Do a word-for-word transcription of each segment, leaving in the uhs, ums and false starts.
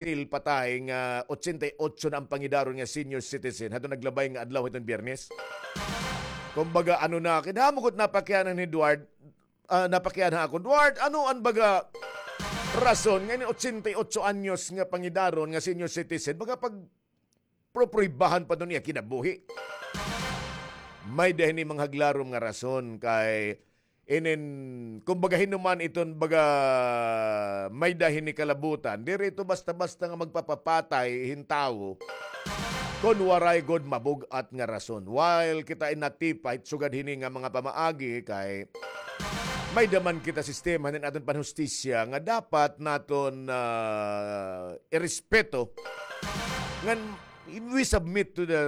Daniel patay nga ochenta y ocho na an pangidaron nga senior citizen. Hadton naglabay nga adlaw hiton Biyernes. Kumbaga, ano na, kay damo gud napakiana ni Edward, ah, napakiana ako, Edward, ano an baga rason nga ini ochenta y ocho anyos nga pangidaron nga senior citizen, baga pag prupribahan pa dun iya kinabuhi. May-ada hini mga haglarom nga rason kay inin, kumbaga, hinuman iton baga may-ada hini kalabutan. Diri ito basta-basta nga magpapapatay hin tawo kon waray gud mabug-at nga rason. While kita inatipa hit sugad hini nga mga pamaagi kay may-ada man kita sistema hinin aton panhustisya nga dapat naton, ah, irespeto ngan we submit to the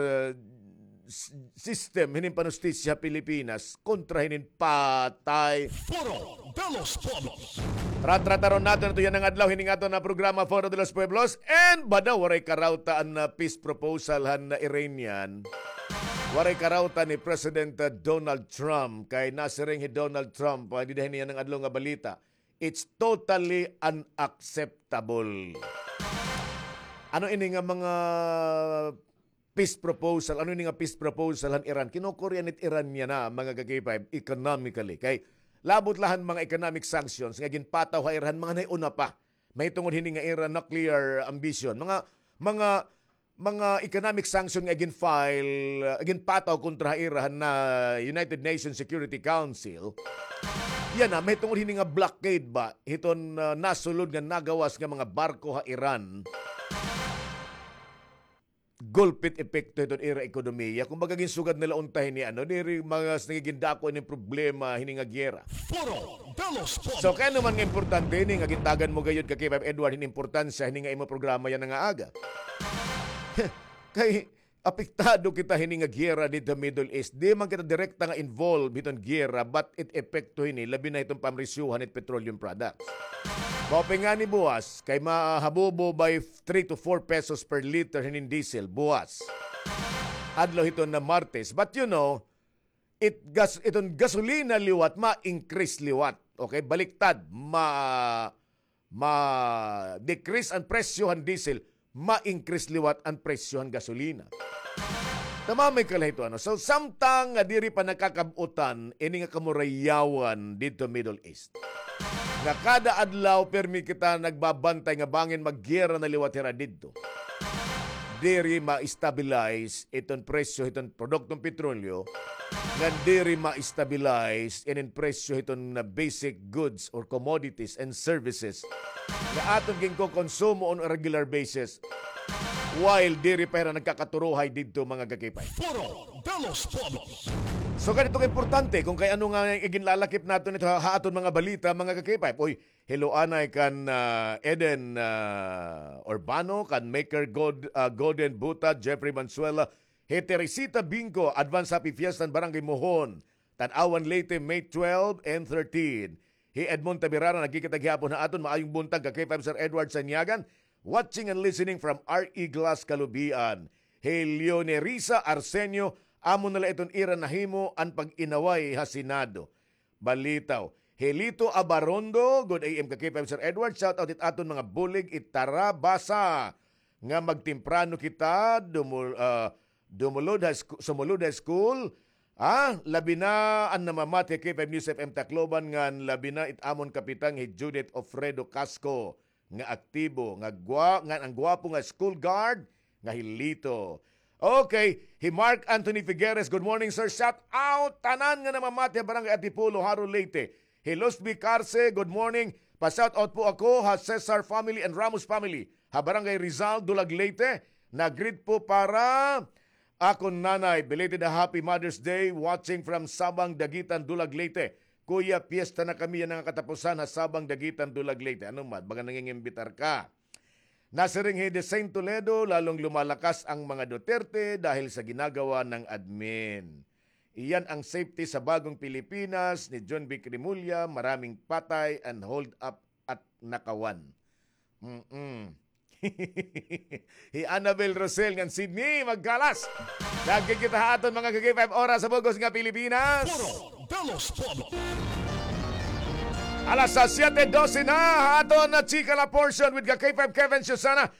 s-, system hinin panhustisya Pilipinas kontra hinin patay. Foro de los Pueblos. Tratrataron naton ito yana nga adlaw hining aton nga programa, Foro de los Pueblos. And bada, waray karawta an, ah, peace proposal han, ah, Iranian. Waray karawta ni President, ah, Donald Trump. Kay nasiring hi Donald Trump, ah, dida hini yana nga adlaw nga balita, it's totally unacceptable. Ano ini nga mga peace proposal? Ano ini nga peace proposal han Iran? Kinokorean it Iran yana, mga ka-K five, economically. Kay labot la han mga economic sanctions nga ginpataw ha Iran, mga nahiuna pa. Mahitungod hini nga ira nuclear ambition. Mga, mga, mga economic sanction nga gin-file, uh, ginpataw kontra ha ira han, uh, United Nations Security Council. Yana, mahitungod hini nga blockade ba hiton, uh, nasulod nga nagawas nga mga barko ha Iran. Gulpit epekto hiton ira ekonomiya. Kumbaga, ginsugad nila unta hini, ano, diri mga s-, nagigindako ini problema hini nga giyera. Foro de los Pueblos. So, kay ano man nga importante hini nga gintagan mo gayud ka K five Edward hini importansya hini nga imo programa yana nga aga. Kay apektado kita hini nga giyera didto Middle East. Di man kita direkta nga involved hiton giyera, but it epekto hini, labi na hiton pamresyuhan hit petroleum products. Maupay ngani buwas, kay mahabubo by three to four pesos per liter hinin diesel buwas. Adlaw hiton nga Martes. But you know, it gas-, iton gasolina liwat, ma-increase liwat. Okay, baliktad, ma-, ma-decrease an presyo han diesel, ma-increase liwat an presyo han gasolina. Tamamay ka la hito, ano? So, samtang nga diri pa nakakab-utan ini nga kamurayawan didto Middle East, nga kada adlaw pirmi kita nagbabantay nga bangin maggiyera na liwat hira didto. Diri ma-stabilize iton presyo hiton produktong petrolyo, ngan diri ma-stabilize inin presyo hiton na basic goods or commodities and services nga aton ginkokonsumo on a regular basis, while diri pa hira nagkakaturuhay didto, mga ka-K five. Foro de los Pueblos. So, ganito ka importante kung kay ano nga iginlalakip naton ito ha, ha aton mga balita, mga ka-K five. Uy, hello anay kan, ah, Eden, ah, Urbano, kan Maker God, ah, Golden Buta, Jeffrey Manzuela, hi Teresita Bingo, advance happy fiesta han Barangay Mohon, Tanauan, Leyte, May twelve and thirteen. Hi Edmond Tabirara, nagkikita gihapon ha aton. Maayong buntag ka K five Sir Edward Sanyagan, watching and listening from R E Glass, Calubian. Hi Leonerisa Arsenio, amo na la iton ira nahimo an pag-inaway ha Senado. Balitaw. Hi Lito Abarondo, good A M ka K five Sir Edward, shout out it aton mga bulig it Tarabasa nga magtemprano kita, dumul-, ah, dumulod ha sku-, sumulod ha school, ah, labi na an namamati ha K five News F M Tacloban, ngan labi na it amon kapitang hi Judith Ofredo Casco, nga aktibo, nga gwa-, nga an gwapo nga school guard, nga hi Lito. Okay, hi Mark Anthony Figueres, good morning, sir. Shout out tanan nga namamati ha Barangay Antipolo, Jaro, Leyte. Hi Luz B. Carce, good morning. Pa-shout out po ako ha Cesar family and Ramos family ha Barangay Rizal, Dulag, Leyte. Nag-greet po para akon nanay. Belated happy Mother's Day, watching from Sabang, Daguitan, Dulag, Leyte. Kuya, piyesta na kami yana nga katapusan ha Sabang, Daguitan, Dulag, Leyte. Ano man, baga nangingimbitar ka. Nasiring hi Desen Toledo, lalong lumalakas ang mga Duterte dahil sa ginagawa ng admin. Iyan ang safety sa bagong Pilipinas ni John Vic Remulla, maraming patay and hold up at nakawan. Mm-mm. Hi Annabel Rosel ngan Sydney Magkalas. Nagkikita ha aton mga ka-K five oras sa bug-os nga Pilipinas. Foro de los Pueblos. Alas siyete dose na, aton na chika la portion with ka K five Kevin Susana.